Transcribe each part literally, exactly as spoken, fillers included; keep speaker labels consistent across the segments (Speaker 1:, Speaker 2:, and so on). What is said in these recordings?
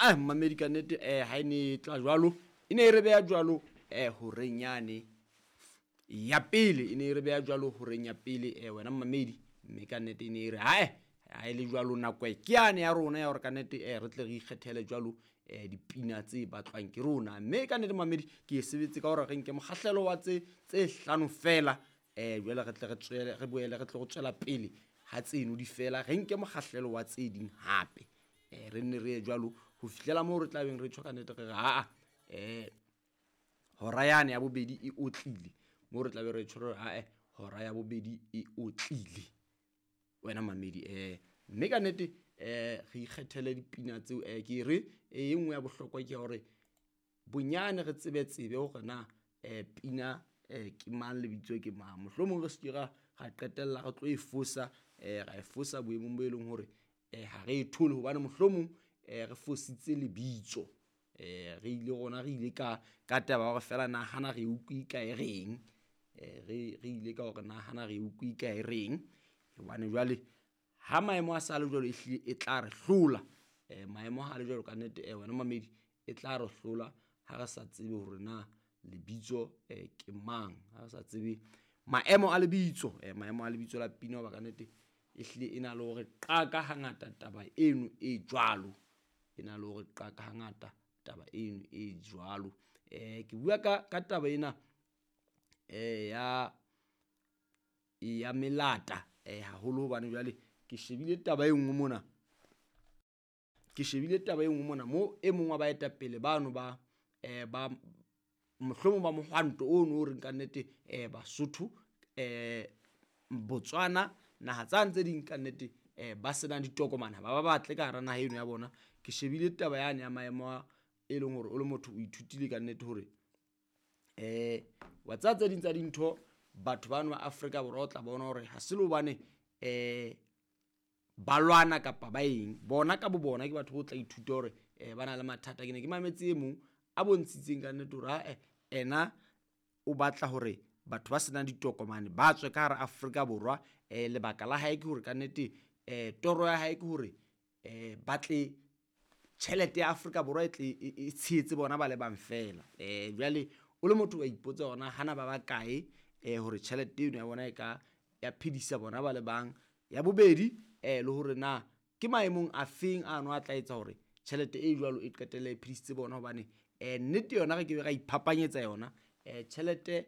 Speaker 1: Aa mmamedi ka nnete um ha e ne e tla jwalo, e ne e re beha jwalo um horeng yane ya pele, e ne e re beha jwalo horeng ya pele um wena mmamedi. Mme ka nnete e ne e re hae ha e le jwalo nako ke yane ya rona ya hore ka nnete um re tle re ikgethele jwalo um dipina tse batlwang ke rona. Mme ka nnete mmamedi ke e sebetse ka hore re nke mokgahlelo wa tse tse hlano fela um jwale re tle re tswele re boele re tle go tswela pele ha tseno di fela, re nke mokgahlelo wa tse ding hape. Um re nne re ye jwalo ho fihlela moo re tla beng re tjho ka nnete re re aa um hora yane ya bobedi e otlile, moo re tlabe re tjho re ae hora ya bobedi e otlile wena mamedi. Um mme ka nnete um re ikgethele dipina tseo. um ke re e nngwe ya bohlokwa ke ya hore bonyane re tsebe tsebe hore na um pina um ke mang, lebitso ke mang. Mohlomong re se ke ra ra qetella re tlo e fosa, um ra e fosa boemong bo e leng hore um ha re e thole hobane mohlomong um re fositse lebitso. Um re ile rona re ile ka ka taba ya hore feela nahana re utlwe ka e reng, um re re ile ka hore nahana re utlwe ka e reng. Hobane jwale ha maemo a sa le jwalo, ehlile e tla re hlola. Um maemo ha le jwalo ka nnete um wena mamedi e tla re hlola ha re sa tsebe hore na lebitso um ke mang, ha re sa tsebe maemo a lebitso, um maemo a lebitso la pina. Hoba ka nnete ehlile e na le hore qaka hangata taba eno e jwalo, e na le hore qaka hangata taba eno e jwalo. Um ke bua ka ka taba ena um ya ya melata um haholo hobane jwale ke shebile taba e nngwe mona, ke shebile taba e nngwe mona mo e mong wa baetapele bano ba um ba mohlomong ba mohwanto ono o reng ka nnete um Basotho um Botswana naha tsane tse ding ka nnete um ba senang ditokomane ha ba ba batle ka hara naha eno ya bona. Ke shebile taba yane ya maemo a e leng hore o le motho o ithutile ka nnete hore um wa tseba tse ding tsa dintho batho bano ba Afrika Borwa o tla bona hore ha se le hobane um ba lwana kapa ba eng, bona ka bo bona ke batho bo tla ithuta hore um ba na le mathata. Ke ne ke mametse e mong a bontshitseng ka nnete hore ae ena o batla hore batho ba senang ditokomane ba tswe ka hara Afrika Borwa. Um lebaka la hae ke hore ka nnete um toro ya hae ke hore um ba tle tjhelete ya Afrika Borwa e tle e tshehetse bona ba le bang fela. Um jwale o le motho wa ipotsa hore na hana ba bakae um hore tjhelete eno ya bona e ka ya phedisa bona ba le bang. Ya bobedi um le hore na ke maemong a feng ano a tla etsa hore tjhelete e jwalo e qetelle e phedisitse bona. Hobane um nnete yona re ke be ra iphapanyetsa yona, um tjhelete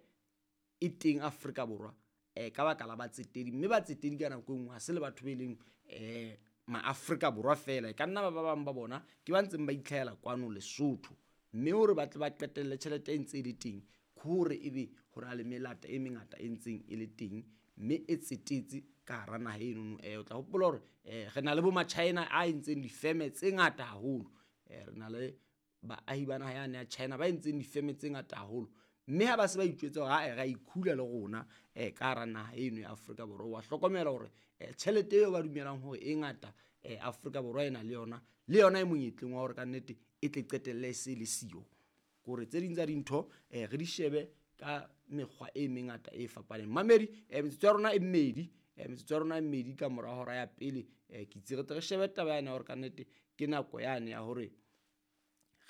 Speaker 1: e teng Afrika Borwa um ka baka la batsetedi, mme batsetedi ka nako e nngwe ha se le batho be leng um ma-Afrika Borwa fela, e ka nna ba ba bang ba bona ke ba ntseng ba itlhahela kwano Lesotho. Mme hore ba tle ba qetelle tjhelete e ntse e le teng, ke hore ebe ho na le melata e mengata e ntseng e le teng mme e tsetetse ka hara naha enono. Um o tla hopola hore um re na le bo ma-China a entseng difeme tse ngata haholo, um re na le baahi ba naha yane ya China ba entseng difeme tse ngata haholo. Mme ha ba se ba itjwetsa hore ae re a ikhula le rona um ka hara naha eno ya Afrika Borwa, wa hlokomela hore um tjhelete eo ba dumelang hore e ngata um Afrika Borwa e na le yona, le yona e monyetleng wa hore ka nnete e tle qetelle e se le siyo. Ke hore tse ding tsa dintho um re di shebe ka mekgwa e mengata e fapaneng. Mamedi um metsotso ya rona e mmedi, um metsotso ya rona e mmedi ka mora hora ya pele. um ke itse re tle re shebe taba yane ya hore ka nnete ke nako yane ya hore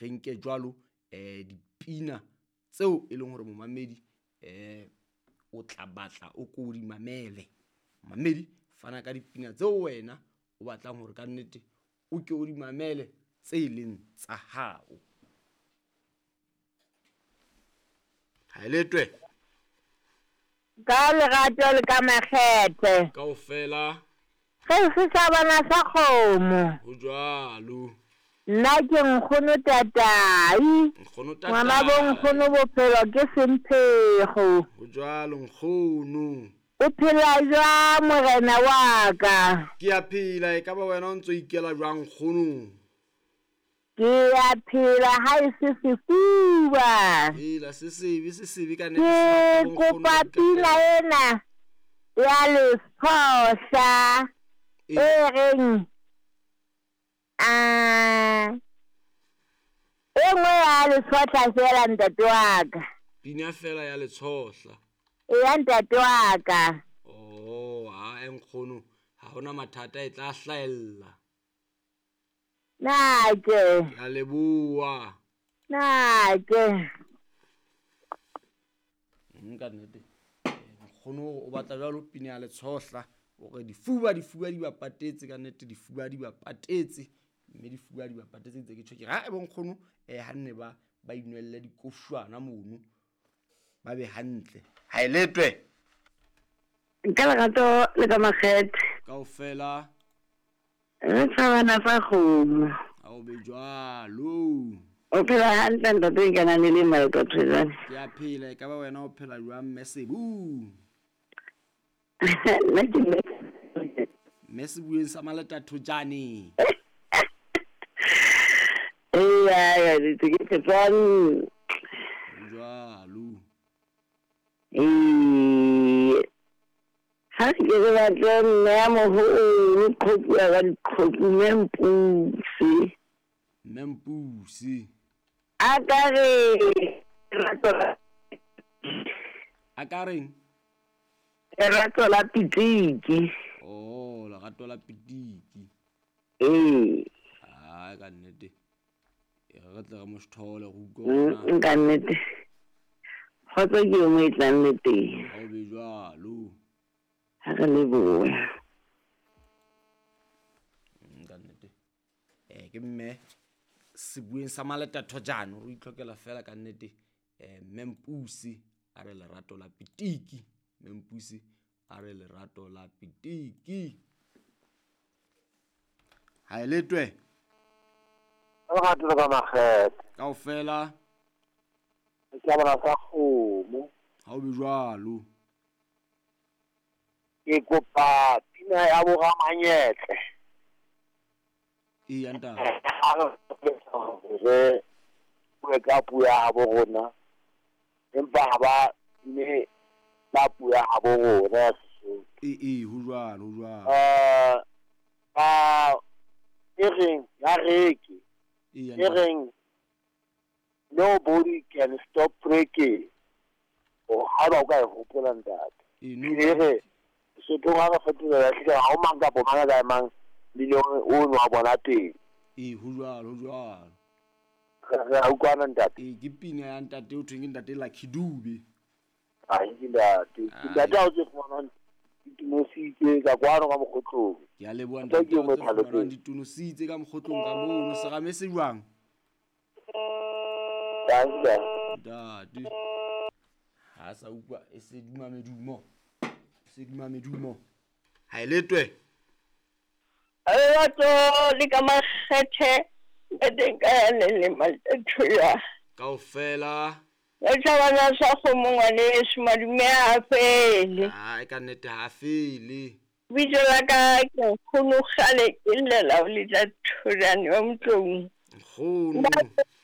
Speaker 1: re nke jwalo um dipina tseo e leng hore momamedi um o tla batla o ko o di mamele. Mamedi fana ka dipina tseo wena o batlang hore ka nnete o ke o di mamele tse leng tsa hao. Ha e letwe
Speaker 2: Ka lerato le ka makgethe
Speaker 1: kaofela
Speaker 2: ge se sa bona sa kgomo.
Speaker 1: Ho jwalo.
Speaker 2: Nna ke nkgono tatai,
Speaker 1: Nkgono
Speaker 2: ngwana bo
Speaker 1: tatai.
Speaker 2: nkgono bophelo ke semphego.
Speaker 1: Ho jwalo nkgono.
Speaker 2: O phela jwang morena wa ka?
Speaker 1: Ke a phela, e ka ba wena o ntso ikela jwang nkgono?
Speaker 2: Ke a phela ha e se sefuba.
Speaker 1: Hela se sebe se sebe ka nnete.
Speaker 2: Ke
Speaker 1: se
Speaker 2: kopa
Speaker 1: nkgono ba
Speaker 2: pina
Speaker 1: iqetela.
Speaker 2: ena ya Letshohla
Speaker 1: E
Speaker 2: e reng a e nngwe ya Letshohla fela ntate wa ka.
Speaker 1: Pina fela ya Letshohla.
Speaker 2: Eya ntate wa ka.
Speaker 1: Oh, ha e nkgono ha hona mathata e tla hlahella.
Speaker 2: Nake.
Speaker 1: Ke a leboha.
Speaker 2: Nake.
Speaker 1: Nka nnete. Nkgono o batla jwalo pina ya Letshohla. O re difuba difuba di ba patetse ka nnete difuba di ba patetse. Mme difuba di ba patetse ntse ke tjho ke re ha e bo nkgono eh ha nne ba ba inwelle dikoshwana mono. Ba be hantle. Ha e letwe.
Speaker 2: Nka lerato le ka makgethe.
Speaker 1: Kaofela.
Speaker 2: Re tshabana tsa kgomo.
Speaker 1: Ha o be jwalo.
Speaker 2: O phela hantle ntate ke na le le maloko thwejane.
Speaker 1: Ke a phela e ka ba wena o phela jwang mme Sebu?
Speaker 2: Nna ke mme.
Speaker 1: Mme Sebueng sa Maleta Thojane.
Speaker 2: Eya ya ke ke tswang.
Speaker 1: Jwalo.
Speaker 2: Eh ha ke re batle mme ya moholo qhopu ya diqhopu mme Mpuse.
Speaker 1: Mme Mpuse.
Speaker 2: A ka re lerato la
Speaker 1: A ka reng?
Speaker 2: Lerato la pitiki.
Speaker 1: Oh, lerato la pitiki.
Speaker 2: Eh.
Speaker 1: Ah, ka nnete. E re tle re mo sthole go utlwa.
Speaker 2: Nka nnete. Kgotso ke yo mo e tlang le teng.
Speaker 1: Ha o be jwalo.
Speaker 2: Ha re lebohe.
Speaker 1: Nka nnete. Eh ke mme Sebueng sa Maleta Thojane o itlhokela fela ka nnete eh mme Mpuse a re lerato la pitiki. Mme Mpuse a re lerato la pitiki. Ha e letwe.
Speaker 3: Lerato la makgethe.
Speaker 1: Kaofela.
Speaker 3: Ke a bona sa kgomo.
Speaker 1: Ha o be jwalo.
Speaker 3: Ke kopa pina ya bo Ramanyetle.
Speaker 1: Ee ntate.
Speaker 3: Re bue ka puo ya habo rona. Empa ha ba mme ba puo ya habo rona ya Sesotho.
Speaker 1: Ee ee ho jwalo ho jwalo.
Speaker 3: Eh ba e reng ya reke.
Speaker 1: Ee
Speaker 3: E reng nobody can stop breaking. O ha ba o ka e hopola ntate.
Speaker 1: Ee no.
Speaker 3: E re Sesotho ha re fetolela hlile ha o mang kapa mang ka mang million o no wa bona teng.
Speaker 1: Ee ho jwalo ho jwalo.
Speaker 3: Re a utlwana ntate.
Speaker 1: Ee ke pina ya ntate o thweng ke ntate Lucky Dube.
Speaker 3: Ai ke ntate. Ntate ha o tse fumanang ditonositse ka kwano ka mokgotlong.
Speaker 1: Ke a leboha
Speaker 3: Ntate
Speaker 1: ntate
Speaker 3: ke o
Speaker 1: o tse
Speaker 3: mo
Speaker 1: fumanang ditonositse ka mokgotlong ka mono serame se jwang?
Speaker 3: Ntate.
Speaker 1: Ntate. Ha sa utlwa e se duma medumo. E se duma medumo. Ha e letwe.
Speaker 2: Lerato le ka makgethe ntate ka le le Maleta Thojane.
Speaker 1: Kaofela.
Speaker 2: Re tshabana sa kgomo ngwaneso madume a fele.
Speaker 1: Ah, e ka nnete ha fele.
Speaker 2: Bitso la ka ke nkgono kgale ke llela ho Leta Thojane wa Motlong.
Speaker 1: Nkgono.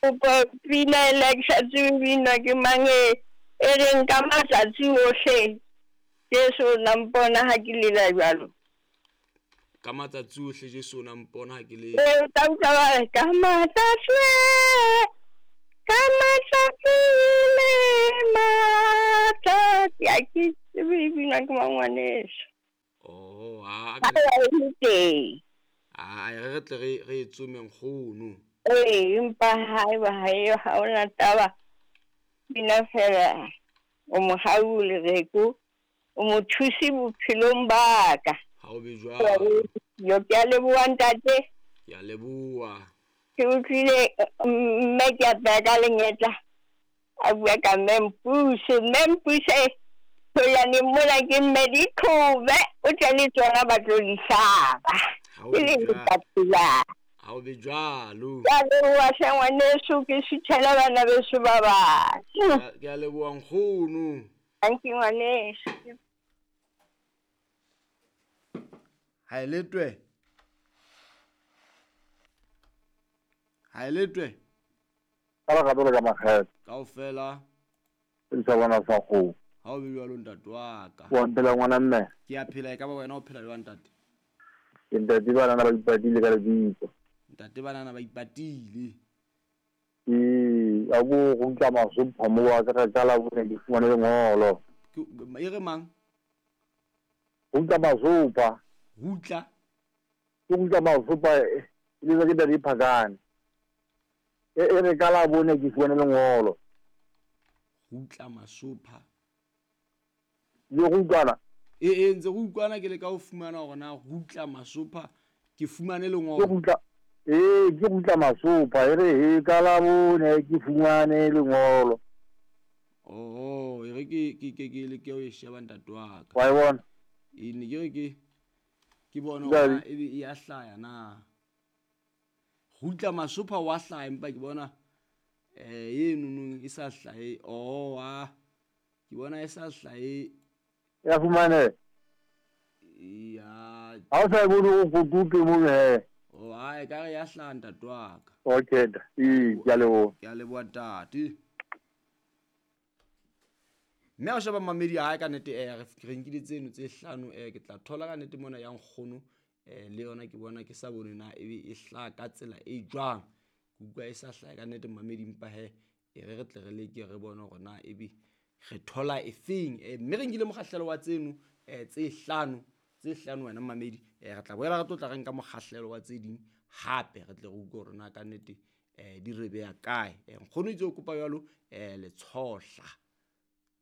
Speaker 2: Kopa pina e la ke sa tsebe binwa ke mang e e reng ka matsatsi ohle Jesu o na mpona ha ke lela jwalo.
Speaker 1: Ka matsatsi ohle Jesu o na mpona ha ke lela.
Speaker 2: Ee, o tla utlwa ba re, ka matsatsi ka matsatsi le matsatsi ha ke tsebe e binwa ke mang ngwaneso.
Speaker 1: Oh, ha
Speaker 2: Ha e le teng.
Speaker 1: Ah, re re tle re re e tsome nkgono.
Speaker 2: Ee, empa haeba ha eo ha hona taba bina fela o mohau lereko o mo thuse bophelong ba ka.
Speaker 1: Ha o be jwalo.
Speaker 2: Yo ke a leboha ntate.
Speaker 1: Ke a leboha.
Speaker 2: Ke utlwile mme ke a pea ka lenyetla. A bua ka mme Mpuse, mme Mpuse Thojane mona ke mme diqhobe o tle le tsona ba tlo di hlaba.
Speaker 1: Ha o
Speaker 2: Ke
Speaker 1: be
Speaker 2: le
Speaker 1: jwalo.
Speaker 2: letsatsi.
Speaker 1: Ha o be jwalo.
Speaker 2: Ke a leboha hle ngwaneso ke suthela bana beso ba bang.
Speaker 1: Ke a leboha nkgono.
Speaker 2: Thank you ngwaneso.
Speaker 1: Ha e letwe. Ha e letwe.
Speaker 3: Ka lerato le ka makgethe.
Speaker 1: Kaofela.
Speaker 3: Ke sa bona sa kgomo.
Speaker 1: Ha o be jwalo ntate wa ka.
Speaker 3: Wa phela ngwana mme.
Speaker 1: Ke a phela e ka ba wena o phela jwang ntate?
Speaker 3: Ke ntate banana ba ipatile ka lebitso.
Speaker 1: Ntate banana ba ipatile.
Speaker 3: Ee, a bo go ntla masopha mo wa ka ka la bone ke fumane lengolo.
Speaker 1: Ke e re mang?
Speaker 3: Go ntla masopha.
Speaker 1: Rutla.
Speaker 3: Ke go ntla masopha E letswa ke Ntate Phakane. E e re ka Labone ke fumane lengolo.
Speaker 1: Rutla Masopha.
Speaker 3: Le go utlwana?
Speaker 1: E e ntse go utlwana ke le ka ho fumana hore na Rutla Masopha ke fumane
Speaker 3: Ke
Speaker 1: lengolo.
Speaker 3: Rutla ee ke Rutla Masopha e re he ka Labone ke fumane lengolo.
Speaker 1: Oh, e re ke ke ke ke leke ho e sheba ntate wa ka.
Speaker 3: Wa e bona?
Speaker 1: E ne ke re ke ke bone hore
Speaker 3: Jwale
Speaker 1: na ebe e ya hlaya na. Rutla Masopha wa hlaya empa ke bona eh eno e sa hlahe. Oh, ah. Ke bona e sa hlahe.
Speaker 3: Ya fumane.
Speaker 1: Ya.
Speaker 3: Ha o sa e bone o kotupe mono he.
Speaker 1: Oh, ha e ka re ya hlaha ntate wa ka.
Speaker 3: Okay, ee, ke a leboha.
Speaker 1: Ke a leboha ntate. Mme ha o sheba mamedi hae ka nnete eh re re nkile tseno tse hlano eh ke tla thola ka nnete mona ya nkgono eh le yona ke bona ke sa bone na ebe e hlaha ka tsela e jwang. Ke utlwa e sa hlahe ka nnete mamedi empa he e re re tle re leke re bone hore na ebe re thola efeng. Eh mme re nkile mokgahlelo wa tseno eh tse hlano tse hlano wena mamedi eh re tla boela re tlo tla re nka mokgahlelo wa tse ding hape re tle re utlwe hore na ka nnete eh di re beha kae. Eh nkgono itse o kopa jwalo eh Letshohla.